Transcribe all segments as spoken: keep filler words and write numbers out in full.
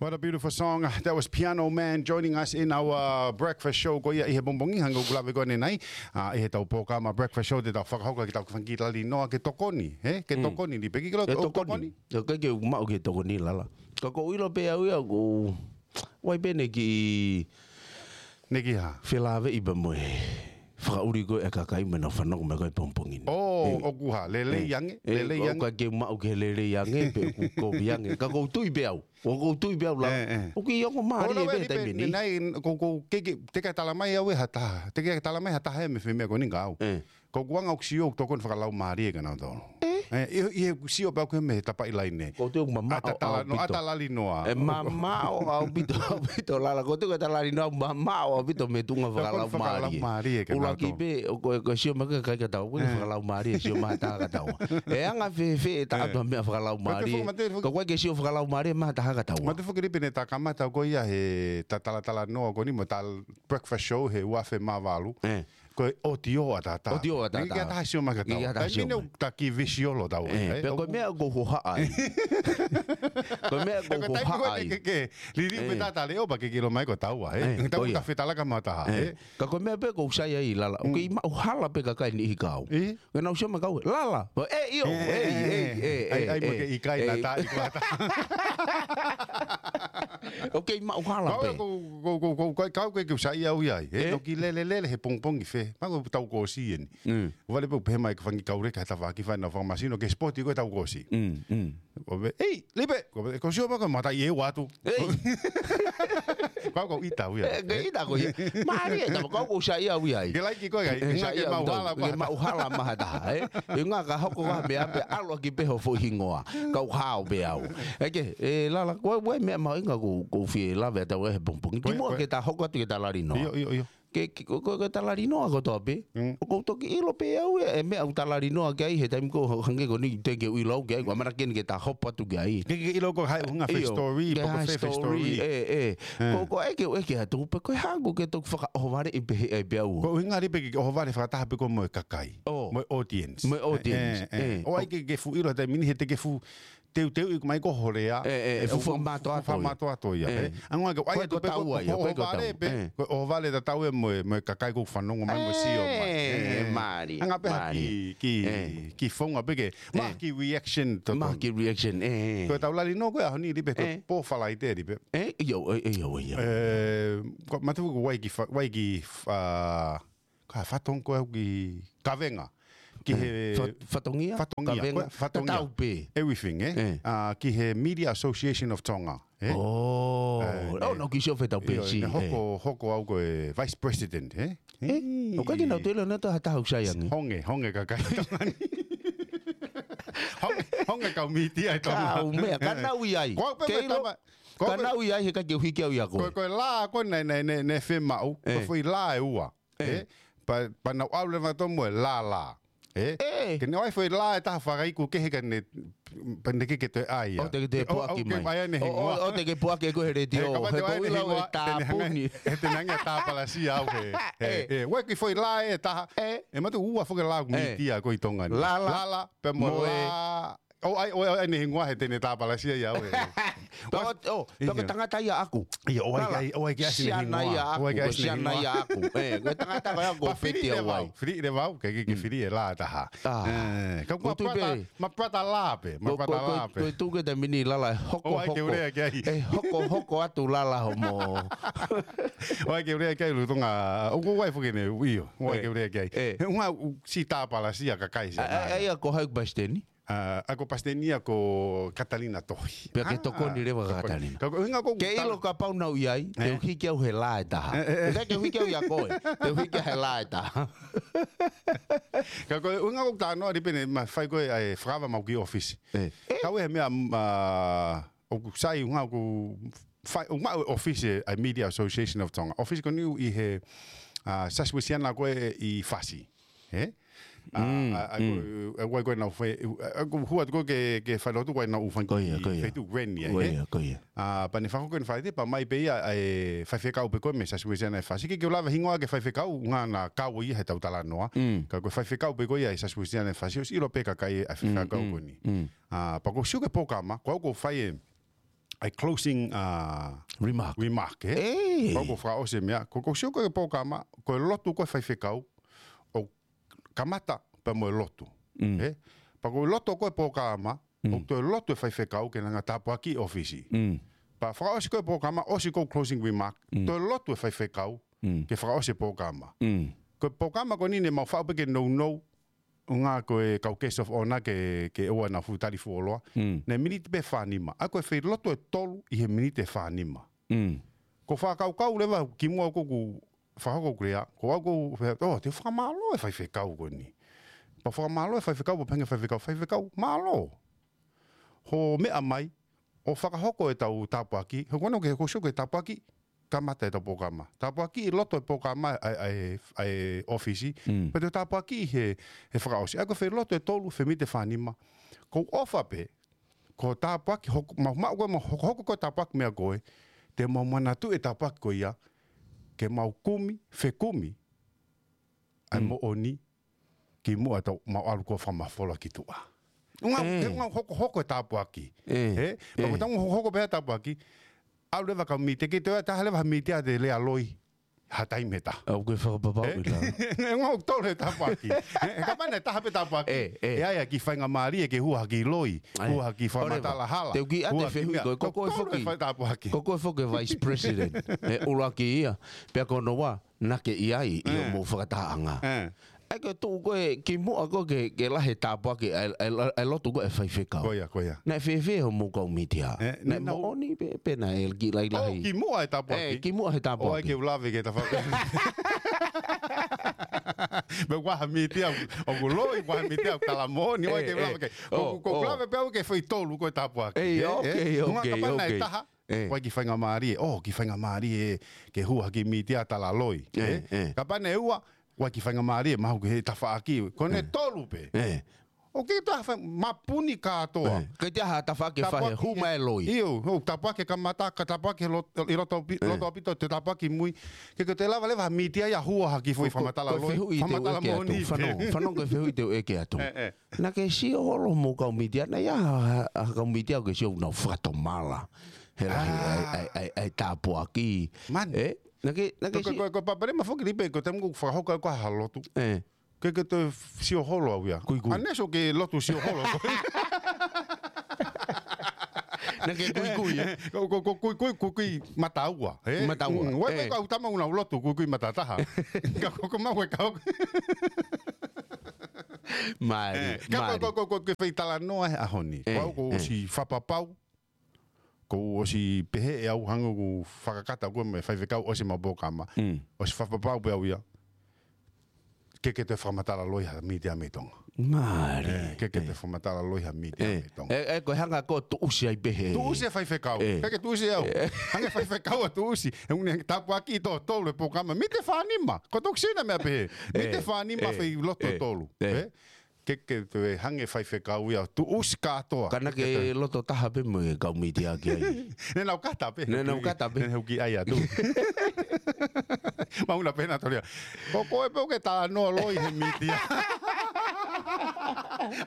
What a beautiful song. That was Piano Man joining us in our, uh, breakfast show ko ia ʻi he pongipongi, hangē ko ʻeku lave ko eni. ʻA, ʻi heʻetau polokalama breakfast show te tau fakahoko ʻetau fanga kiʻi talanoa ke tokoni, he? Ke tokoni ni pē, ke ʻilo ke tokoni. Ke maʻu ke tokoni, Lala. Ka ʻoku ou ʻilo pē au ia, ʻoku ʻi ai pē ʻene kiʻi, ʻene kiʻi hā? Felāveʻi pē mo e fakaʻuli ko ē ʻa e kakai mo ʻenau fanongo mai ko ē he pongipongi ni. ʻOku hā, lelei ange, lelei ange. ʻOku ʻikai ke maʻu ke lelei ange, pe ʻoku kovi ange. Ka ʻoku ou tui pē au. ʻOku ou tui pē au, Lala. ʻOku ʻi ai ongo mālie pē he taimi ni. Naʻe, ʻoku ou, ʻoku ou, ke, ke, teʻeki ke tala mai au ʻe ha taha. Teʻeki ke tala mai ha taha ia mei he meʻa ko eni kia au. Ka ʻoku ou anga ʻoku ou sio ʻoku tokoni fakalaumālie kia nautolu. ʻE, ʻi, ʻi heʻeku sio pē au ki he meʻa he tapaʻi laine. ʻOku ou tui ʻoku mamaʻo ʻaupito. ʻA e talanoa, ʻa e talanoa. ʻE mamaʻo ʻaupito, ʻaupito, Lala. ʻOku ou tui ko e talanoa mamaʻo ʻaupito mei he tuʻunga fakalaumālie. Fakalaumālie kia nautolu. ʻUluaki pē, ʻoku, ʻoku sio mai ki he kakai kia taua, ʻoku ʻikai ke fakalaumālie, sio mai ha taha kia taua. ʻE anga fēfē ʻe taʻoto ha meʻa fakalaumālie. Ka ʻoku ʻikai ke sio fakalaumālie mai ha taha kia taua. Mate foki Lipe naʻe ta kamata ko ia he ta talatalanoa ko eni mo e ta breakfast show he ua afe mā valu. Ko e ʻotiō ʻataʻatā. ʻOtiō ʻataʻatā. ʻIkai ke ʻi ai ha taha sio mai kia taua. ʻIkai ke ʻi ai ha taha sio mai. Taimi ni ʻoku ta kiʻi visual ʻo taua, ʻe, pea ko e meʻa ʻoku ou hohaʻa ai. Ko e meʻa ʻoku ou hohaʻa ai. Ke, ke, ke, liliu pē taʻata leʻo pea ke ke ʻilo mai ko taua, ʻe. Taimi ʻoku ta fetalaka mo ha taha, ʻe. Ka ko e meʻa pē ʻoku ou sai ai, Lala. ʻOku kei maʻu hala pē kakai ni ʻi he kau. Ke nau sio mai kia au, Lala. ʻE, ʻio, ʻe, ʻe, ʻe, ʻe, ʻai, ʻai, mo ke ʻikai na taʻi kuata. ʻOku kei maʻu hala pē. Ko, ko, ko, ko, ko, ko, kau ke ke usai au ia, ʻe, toki lele, lele, he pongipongi fē. Ma ko tau ko si eni. Vale pē, pehē mai ko e fanga kiʻi kauleka he tafaʻaki fai ʻenau fakamasino, ke spoti ko e tau ko si. ʻO pehē, ʻei, Lipe, ko, ko sio mai ko e mata ʻi he ua atu. ʻEi. Kau, kau ʻita au ia. ʻE, ke ʻita koe ia. Mālie, tama kau ʻoku sai au ia ai. Ke laiki koe ai, ʻe, sai ke au maʻu hala, ke maʻu hala mai ha taha, ʻe. ʻE ngā ka hoko ha meʻa pē ʻalu ʻaki pē ho foʻi hingoa. Kau hao pē au. ʻE ke, ʻe Lala, ko e, ko e meʻa mahuʻinga ʻoku, ʻoku ou fie lave atu he pongipongi. Kimuʻa ke ta hoko atu ke ta talanoa. ʻIo, ʻio, ʻio. Ke, ke, ko, ko, ko e talanoa kotoa pē. ʻOku ou toki ʻilo pē au ʻe, ʻe meʻa ʻoku talanoa ki ai he taimi ko ē hangē ko eni te ke ʻilo au ki ai, ko e ʻamanaki eni ke ta hopo atu ki ai. Ke, ke ʻilo ko hai ʻuhinga fē story, pe ko e fē story. ʻE, ʻe. Ko, ko e ke, ʻe ke atu, pe ko e hā ʻoku ke toki fakaʻohovaleʻi pehē ai pē au. Ko e ʻuhinga ʻe pē ke ʻohovale fakataha pē ko ē mo e kakai. Mo e audience. Mo e audience. ʻE, ʻe. ʻO ʻai ke, ke fuʻu ʻilo he taimi ni he te ke fuʻu teuteuʻi mai ko ho lea. ʻE, ʻe, ʻe fuʻu fakamātoato ia. ʻE. Angoa ke ʻai atu pē ko e ʻohovale pē, ko e ʻohovale tatau ia mo e, mo e kakai ʻoku fanongo mai mo sio mai. ʻE, mālie. Anga pē ha kiʻi, kiʻi, kiʻi founga pē ke, ma kiʻi reaction to. Ma kiʻi reaction, ʻe. Ko e tau lali nō ko e ʻaho ni Lipe, ko e pō Falaite Lipe. ʻE, ʻio, ʻe, ʻio, ʻio. ʻE, ko matu ko e ʻai kiʻi fa-, ʻai kiʻi fa-, Ka fatongia ko ē ki kavenga. Ki he fa-, fatongia? Fatongia, kavenga, ko e fatongia. Tatau pē. Everything, ʻe? ʻE. ʻA, ki he Media Association of Tonga, ʻe? ʻOo. ʻE, ʻo, ne, nau kiʻi sio fetau pē ʻio, si, ne hoko, hoko au ko e Vice President, ʻe? ʻE, ʻoku ʻikai ke nau tele na ta ha taha ʻoku sai ange. Honge, honge kakai. Honge, honge kau mītia ʻi Tonga. Kau meʻa, ka nau ʻi ai. Ko au pē ke ʻilo, tama-, ko au pē ka nau ʻi ai he ʻikai ke u hiki au ia koe. Ko, ko e lā, ko e ne, ne, ne, ne femaʻu. Ko e foʻi lā ʻe ua. ʻE. ʻE, pa, pa nau ʻalu leva atu mo e lālā. ʻE? ʻE. Ke ne ʻai foʻi lā ʻe taha fakaiku kehe ka ne, pa ne ke ke toe ʻai ia. ʻO te ke toe puaki mai. ʻO, ʻo, ʻo te ke puaki ko e he letiō. He ko e te ʻai ne hingoa, he te ne hanga, he te ne hanga tāpalasia au he. ʻE, ʻe, ʻe, ʻe, kiʻi foʻi lā ʻe taha. ʻE. ʻE matu ua foʻi lā ʻoku mītia ko ē ʻi Tonga ni. Lālā. Lālā, pea mo e lā. ʻO ʻai, ʻo ʻai, ʻo ʻai ne hingoa he te ne tāpalasia ia au he. Pea ko, ʻo, pea ko e tangata ia ʻaʻaku. ʻIo, ʻo ʻai ke, ʻo ʻai ke ʻasi ne hingoa. Siana ia ʻaʻaku, ko e siana ia ʻaʻaku. ʻE, ko e tangata ko ia ʻoku ou fili feti au ai. Fili leva au, ke, ke, ke fili e lā ʻe taha. ʻE, ka ko e brother, my brother lā pē, my brother lā pē. Ko e tuʻu ko ē taimi ni Lālā, hoko, hoko. ʻO ʻai ke u lea ki ai. ʻE, hoko, hoko atu Lālā hoʻomo. ʻO ʻai ke u lea ki ai Lolotonga, ʻoku ʻai foki ne, ʻio, ʻo ʻai ke u lea ki ai. ʻE. He ʻuhinga ʻoku siʻi tāpalasia kakai siʻa. ʻA, ʻa, ʻa ia ko hai ʻoku pasiteni? ʻA, ʻa ko e pasiteni ia ko Katalina Tohi. Pea ke tokoni leva Katalina. Ka ko e ʻuhinga ko e ke ʻilo kapau nau ʻi ai, te u hiki au he lā ʻe taha. ʻE, ʻe, ʻe. Te u hiki au ia koe, te u hiki au he lā ʻe taha. Ka ko e ʻuhinga ko e talanoa Lipe ne ma fai ko ē ʻa e fakava mau ki ʻōfisi. ʻE. Kau ʻi he meʻa, ʻa, ʻoku sai ʻuhinga ʻoku fai, ʻoku maʻu ʻōfisi ʻa e Media Association of Tonga. ʻŌfisi ko eni ʻi he, ʻa, Sasiuesiana ko ē ʻi Fasi. ʻE? ʻA, ʻa, ʻa, ko, ʻa, ʻa, ko ē nau fai, ʻa, ʻa, ko e hua atu ko ē ke, ke fai lotu ko ē nau fai ko ia, ko ia. Feituʻu Reni ai, ʻe? Ko ia, ko ia. ʻA, pea ne fakahoko ʻene fai te, pea mai pē ia ʻa e faifekau pē ko ē mei Sasiuesiana ʻi Fasi. Ke, ke u lava hingoa ki he faifekau, ʻuhinga naʻa kau ia he tau talanoa. Ka ko e faifekau pē ko ia ʻi Sasiuesiana ʻi Fasi, ʻosi ʻilo pē kakai ʻa e faifekau ko eni. ʻA, pea ʻoku ou sio ki he polokalama, ko au ʻoku ou fai e, ʻa e closing, uh, remark, remark, ē? ʻE. Pea ko e fakaʻosi e meʻa, ko, ko e sio ko e polokalama, ko e lotu ko e faifekau, ʻoku kamata pea mo e lotu. Mm. Ē? Pea ko e lotu ko e polokalama, Mm. ʻoku toe lotu e faifekau ke ne hanga ʻo tāpuakiʻi e ʻōfisi. Mm. Pea fakaʻosi ko e polokalama, ʻosi ko e closing remark, Mm. toe lotu e faifekau, Mm. ke fakaʻosi e polokalama. Mm. Ko e polokalama ko eni ne mau faʻu pē ke nounou, ʻuhinga ko e kau guest of honour ke, ke ʻoua naʻa fuʻu tali fuoloa. Mm. Naʻe miniti pē fānima. ʻA ia ko e failotu ʻe tolu ʻi he miniti ʻe fānima. Mm. Ko e fakakaukau leva kimuʻa ʻoku ou fakahoko ʻeku lea, ko au ʻoku ou fea, ʻo, te u fakamālō e faifekau ko eni. Pea fakamālō e faifekau, pea pehē ange e faifekau, faifekau, mālō hoʻo meʻa mai, ʻo fakahoko ʻetau tāpuaki, he ko hono ʻuhinga ko e sio ko e tāpuaki, kamata ʻetau polokalama. Tāpuaki ʻi loto e polokalama ʻa e, ʻa e, ʻa e ʻōfisi. Mm. Pea toe tāpuaki he, he fakaʻosi. ʻA ia ko e failotu ʻe tolu, fai miniti ʻe fānima. Ko e ʻofa pē, ko e tāpuaki, hoko, mau, mau, ko e mau, hoko, hoko ko e tāpuaki meʻa ko ē, te mau manatuʻi e tāpuaki ko ia, ke mau kumi, fekumi, ʻa e Mm. moʻoni, kimuʻa tau mau ʻalu ko e fakamafola ki tuʻa. ʻUhinga, ʻE. ʻuhinga hoko, hoko e tāpuaki. ʻE. Ē? Pea ko ʻE. ʻetau hoko, hoko pē e tāpuaki, ʻalu leva kau mītia, ke toe ʻai ha taha leva ha mītia te lea loi, ha taimi ʻe taha. ʻOku ke fakapapauʻi Ē? la. ʻUhinga ʻoku tolu e tāpuaki. Ē, kapau naʻe taha pē tāpuaki. ʻE, ʻe. ʻE ʻai ha kiʻi faingamālie ke hua ha kiʻi loi, ʻAi. hua ha kiʻi ʻOleva, fakamatala hala, te u kiʻi ʻai hua ha e kiʻi fehuʻi meʻa. ko e, ko Kou koe tolu e foki. fai tāpuaki. Ko koe foki e vice president. ʻE ʻuluaki ia. Pea ko hono ua, naʻa ke ʻi ai, ʻi ʻE. hoʻomou fakatahaʻanga. ʻE. ʻA ia ko e tuʻu ko ē kimuʻa ko ē ke, ke lahi e tāpuaki, ʻa e, ʻa e, ʻa e lotu ko ē ʻa e faifekau. Ko ia, ko ia. Naʻe fēfē hoʻomou kau mītia? ʻE, Naʻe naʻa nau moʻoni pē, pe naʻe kiʻi lahilahi? ʻO, kimuʻa e tāpuaki. ʻE, kimuʻa he tāpuaki. ʻOua ʻe ke u lave ke ta fa-, pe ʻoku ʻi ai ha mītia ʻoku loi, ʻoku ʻi ai ha mītia ʻoku tala moʻoni, ʻoua ʻe ke u lave ke. ʻE, ʻe. ʻO, ʻOku, ʻoku ʻo. lave pē au ki he foʻi tolu ko e tāpuaki. ʻEi, Ē, ē. ʻOua, kapau naʻe ʻoua, taha, ʻE. ʻoua ʻe kiʻi faingamālie, ʻo, kiʻi faingamālie, ke hua ha kiʻi mītia tala loi. ʻE, Ē? ʻe. Kapau naʻe ua, ʻoua ʻe kiʻi faingamālie, mahalo ke he tafaʻaki. Ko ʻene ʻE. tolu pē. ʻE. ʻOku ʻikai toe ʻi ai ha fai, mapuni kātoa. ʻE. ʻIkai toe ʻi ai ha tafaʻaki ʻe fai he Tāpuaki, hū mai e loi. ʻio, ʻo tāpuaki e kamata, ka tāpuaki he lot-, ʻi loto ʻaupito, ʻE. loto ʻaupito, toe tāpuaki mui. Ke, ke toe lava leva ha mītia ia hua ha kiʻi foʻi Ko, ko, fakamatala ko e loi, fehuʻi te u fakamatala ʻeke atu, moʻoni. Fanongo, fanongo ko e fehuʻi te u ʻeke atu. ʻE, ʻe. Naʻa ke sio holo hoʻomou kau mītia, naʻe ʻi ai ha, ha, ha kau mītia ʻoku ke sio ʻoku nau fakatomala he lahi ʻa e, ʻa e, ʻa e, ʻa e tāpuaki. Man. Ē? Naʻa ke, naʻa ke Ko, ko, sio ko, ko e palopalema foki Lipe, ko e taimi ʻoku fakahoko ai ko ha lotu. ʻE. Ke, ke toe sio holo au ia. Kuikui. Unless ʻoku ke lotu sio holo. Naʻa ke kuikui, ē? Ko, ko, ko, kuikui, kuikui mataua, ē? Mataua, Mm, ʻoua ʻe ʻe. kau tama ʻoku nau lotu, kuikui matataha. Ka ko, ko mau e kau. Mālie, Ē, ka ko, mālie. ko, ko, ko, ke fai talanoa he ʻaho ni. Ē, Ko au ʻoku ʻe. ʻosi fakapapau, ʻoku ou ʻosi pehē ʻe au hangē ʻoku fakakata ko ē mo e faifekau ʻosi mo e polokalama. Mm. ʻOsi fakapapau pē au ia. Ke, ke toe fakamatala loi ha mītia mei Tonga. Mālie. Ē, ke, ke Ē. toe fakamatala loi ha mītia Ē. mei Tonga. Ē, ē, ko e hanga ko ē ʻo tuʻusi ai pē he. Tuʻusi e faifekau. Ē. Ke, ke tuʻusi au. Ē. Hanga faifekau ʻo tuʻusi. He ʻoku ne tāpuaki ʻi totolu e polokalama. Mītia ʻe fānima. Ko e toki sina meʻa pē he. Ē. Mītia ʻe fānima Ē. fai lotu Ē. tolu. Ē. Ē? Ke, ke toe hanga faifekau ia ʻo tuʻusi kātoa. Ka naʻa ke Ke toe loto taha pē mo e kau mītia ki ai. Naʻa nau kata pē. Naʻa nau kata pē. Naʻa nau kiʻi ʻai atu. Mau na pena tolia. Ko koe pē ʻoku ke talanoa loi he mītia.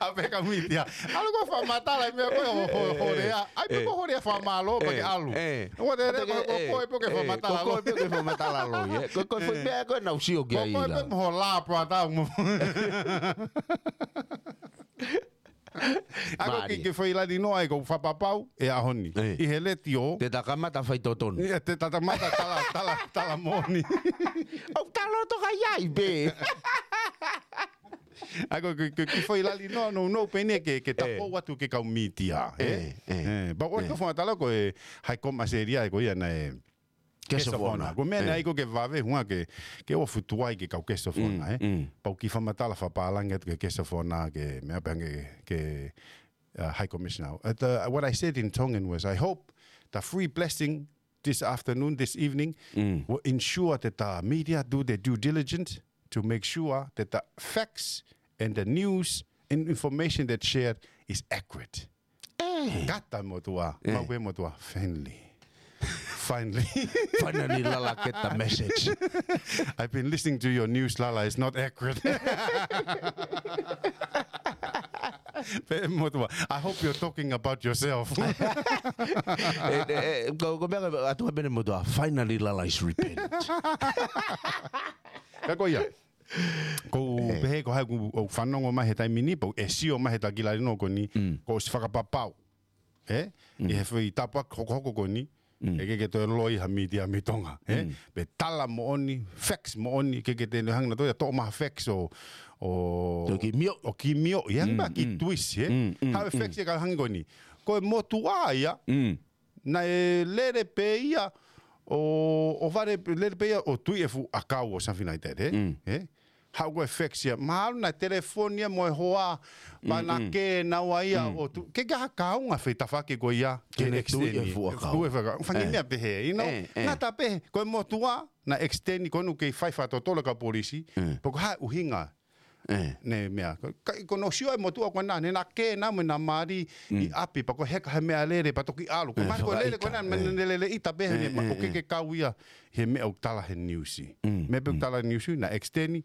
ʻAve kau mītia. ʻAlu koe fakamatala e meʻa ko ē ho, ho, ho Ē. lea. ʻAi pē Ē. ko ho lea fakamālō pea ke Ē. ʻalu. Ē. ʻOua te Ē, lea ko, ko ē. koe pē ʻoku ke Ē, fakamatala ko koe loi. pē ʻoku ke fakamatala loi, ē. Ko, ko e foʻi Ē. meʻa ko ē naʻa ku sio ki Ko ai koe la. pē mo ho la pratau mo. ʻA ia ko e Mālie. kiʻi, kiʻi foʻi lali noa ʻoku ou fakapapau he ʻaho ni. Ē. ʻI he letiō. Te ta kamata fai totonu. ʻIo, te ta kamata tala, tala, tala moʻoni. ʻOku ta loto kai ai pē. ʻA ia ko e kiʻi, kiʻi, kiʻi foʻi lali noa nounou pē eni ke, ke ta Ē. pou atu ki he kau mītia, ē? Ē, ē. Ē, pea ko e Ē. kiʻi fakamatala ko e High Com ʻAositelēlia ko ia naʻe Guest of Honour. Ko e meʻa Ē. naʻe ʻai ko ē ke vave, ʻuhinga ke, ke ʻoua fuʻu tuai ki he kau Guest of Mm, Honour, ē? mm. Pea u kiʻi fakamatala fakapālangi atu ki he Guest of Honour ke meʻa pē ange ke, uh, High Commissioner. At, uh, what I said in Tongan was, I hope the free blessing this afternoon, this evening, Mm. will ensure that the media do their due diligence to make sure that the facts and the news and information that's shared is accurate. Ē. Kata motuʻa, Ē. mau pē motuʻa, friendly. Finally. Finally, Lala get the message. I've been listening to your news, Lala. It's not accurate. Pea motuʻa, I hope you're talking about yourself. E, e, e, ko, ko mea atu ka pene motuʻa, finally Lala is repent. Ka ko ia. Ko pehē ko hai ku o fanongo mai he taimi ni, pau e sio mai he takila lino ko ni, ko si fakapapau. E? I he fai tāpuaki hokohoko ko ni, e ke ke toe loi ha mītia mei Tonga. E? Pe tala moʻoni, facts moʻoni, ke ke te ne hanga na toe toʻo maha facts o, o, Toki mio. O ki mio, i hanga ki twist, e? Hau e facts e ka hanga ko ni. Ko e motuʻa ia, na e lele pē ia, o, o vale lele pē ia, o tui e fuʻu ʻakau o something like that, e? E? Hau ko e facts ia, mahalo na telefoni ia mo e hoa, pa na ke naua ia, o tu, ke ke ha kaunga fai tafake ko ia, Ke ne tui e fuʻu ʻakau. Fangi mea pehē, you know, na ta pehē, ko e motuʻa, na extend ko nu kei fai fakatotolo ka polisi, po ko ha ʻuhinga, ne mea. Ka, ko no sio e motuʻa ko na, ne na ke na mo na mali, i ʻapi, pa ko heka he meʻalele, pa toki ʻalu. Ko mai ko lele, ko na, ne lele ʻita pehē, ne ma, ko ke ke kau ia, he meʻa ʻoku tala he niusi. Meʻa pē ʻoku tala he niusi, na extend,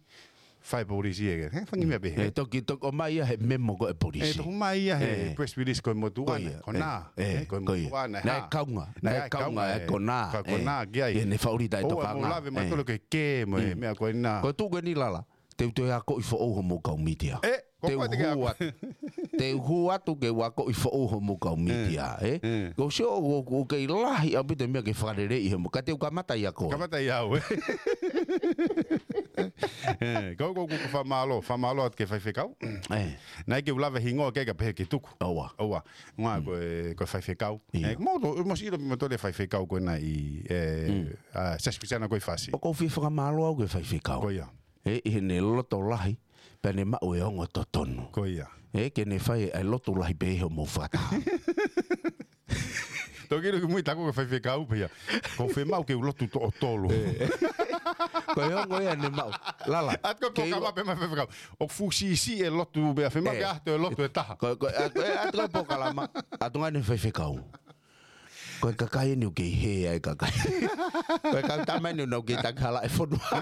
fai polisi e, he fangi mea pehē. E toki, toki o mai ia he memo ko e polisi. E toki mai ia he press release ko e motuʻa, ko na, ko e motuʻa, na e kaunga, na e kaunga e ko na, ko na, ki ai. E ne fauli tai toka nga. Mo lave ma tolo ke ke, mo e meʻa ko e na. Ko tu ke ni Lala. Te u toe akoʻi foʻou hoʻomou kau mītia. E, ko te u hū atu. Te u hū atu ke u akoʻi foʻou hoʻomou kau mītia, e? Ko sio o, o kei lahi ʻaupito e meʻa ke fakaleleiʻi hoʻomou. Ka te u kamata ia koe. Kamata ia au, e? E, ko, ko, ko, ko fakamālō, fakamālō atu ki he faifekau. E. Naʻe ke u lave hingoa ke ka pehē ke tuku. ʻOua. ʻOua. Ngā ko e, ko e faifekau. Ia. E, mo to, mo si ilo mo to le faifekau ko na i, e, a, Sasipisiana ko i fasi. ʻOku ou fie fakamālō au ki he faifekau. Ko ia. E, ʻi heʻene loto lahi, pea ne maʻu e ongo totonu. Ko ia. E, ke ne fai e lotu lahi pē hoʻomou fakataha. Toki ilo ki mui ta ko e faifekau pē ia. Ko fē maʻu ke u lotu toʻo tolu. Ko e ongo ia ne maʻu. Lala. Atu ko e polokalama pē mai faifekau. ʻOku fuʻu siʻisiʻi e lotu pē, fē maʻu ke ʻaho e lotu e taha. Ko, ko, atu, atu ko e polokalama. Atu ngā ne faifekau. Ko e kakai eni ʻoku kei hē ai e kakai. Ko e kau tama eni ʻoku nau kei taki hala e fonua.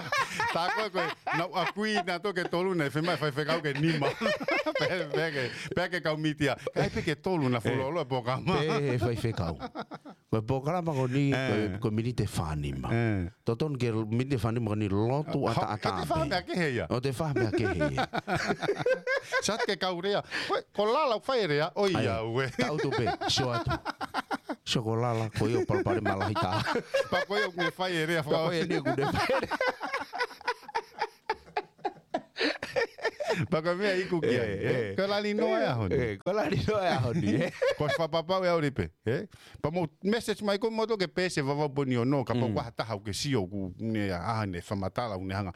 Ta ko e, ko e, nau ʻakui na to ke tolu ne, fē maʻu e faifekau ke nima. Pea, pea ke, pea ke kau mītia. Kai pē ke tolu na fuoloa e polokalama. Pehē he faifekau. Ko e polokalama ko ni, ko e, ko e miniti ʻe fānima. Totonu ke miniti ʻe fānima ko ni lotu ʻataʻatā pē. Ka te faha meʻa kehe ia. ʻO te faha meʻa kehe ia. Sat ke kau lea. Ko e, ko Lala ʻoku fai e lea, ʻoiauē. Tau tu pē, sio atu. Sio ko Lala, ko ia ʻoku palopalema lahi tā. Pa ko ia ʻoku ne fai e lea, pa ko ia eni ʻoku ne fai e lea. Pa ko e meʻa iku ki ai, e? Ko e lali noa e ʻaho ni. E, ko e lali noa e ʻaho ni, e? Ko e fakapapau e au lipe, e? Pa mo message mai ko moto ke pese vavau poni ono, kapau ko ha taha ʻoku ke sio ʻoku ne ʻaho ni fakamatala ʻoku ne hanga.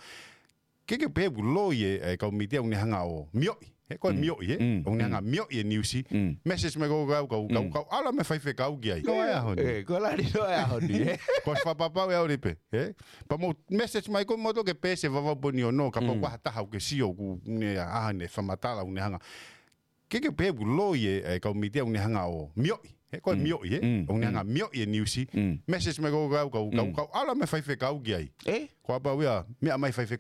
Ke ke pehē ʻoku loi e, e kau mītia ʻoku ne hanga ʻo mioʻi. He ko e mioʻi, e? ʻOku ne hanga mioʻi e niusi. Message mai ko kau, kau, kau, kau, ʻalu mo e faifekau ki ai. Ko e ʻaho ni. E, ko e lali noa e ʻaho ni, e? Ko e fakapapau e au lipe, e? Pa mo message mai ko moto ke pese vavau poni ono, kapau ko ha taha ʻoku ke sio ʻoku ne ʻaho ni fakamatala ʻoku ne hanga. Ke ke pehē ʻoku loi e, e kau mītia ʻoku ne hanga ʻo mioʻi. He ko e mioʻi, e? ʻOku ne hanga mioʻi e niusi. Message mai ko kau, kau, kau, kau, ʻalu mo e faifekau ki ai. E? Ko a pau ia, meʻa mai faife